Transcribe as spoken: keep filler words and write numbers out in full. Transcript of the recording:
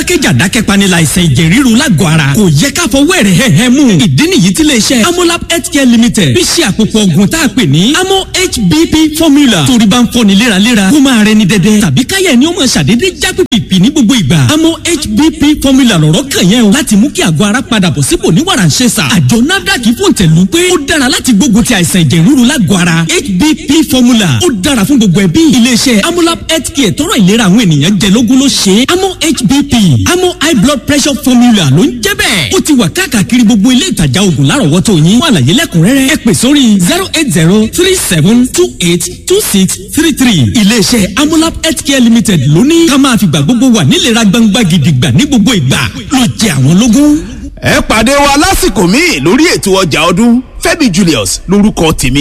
Adákẹ́jà dákẹ́pani láìsàn ẹ̀jẹ̀ ríru lágọ̀ọ́ ara. Kò yẹ ká fọwọ́ ẹ̀rẹ̀ hẹ́hẹ́ mú. Ìdí nìyí tí iléeṣẹ́ Amolab Healthcare Limited fi ṣe àpòpọ̀ ògùn tá a pè ní Amo H B P formula. Torí bá ń fọ́ni léraléra, kó máa rẹni dẹ́dẹ́ tàbí káyẹ̀ ni ó máa ṣàdédé já pìpì ní gbogbo ìgbà. Amo H B P formula lọ̀rọ̀ kàn yẹn o, láti mú kí àgọ́ ara padà bọ̀ sípò ní wàràǹṣeṣà. Àjọ NAFDAC fòǹtẹ̀lù pé ó dára láti gbógun ti àìsàn ẹ̀jẹ̀ ríru lágọ̀ọ́ ara. H B P formula, ó dára fún gbogbo ẹbí. Iléeṣẹ́ Amolab Healthcare tọrọ ìlera àwọn ènìyàn jẹ lógún ló ṣe é. Amo H B P, Amo high blood pressure formula ló ń jẹ́ bẹ́ẹ̀. Ó ti wà káàkiri gbogbo ilé ìtajà oògùn lárọ̀wọ́tò yín. Fún àlàyé lẹ́kùnrẹ́rẹ́, ẹ pè sórí zero eight zero three seven two eight two six three three. Iléeṣẹ́ Amolab Healthcare Limited ló ní ká máa fìgbà gbogbo wà nílera gbangba gidigba ní gbogbo ìgbà ló jẹ àwọn lógún. Ẹ pàdé wa lásìkò míì lórí ètò ọjà ọdún. Fẹ́mi Julius lórúkọ tèmi.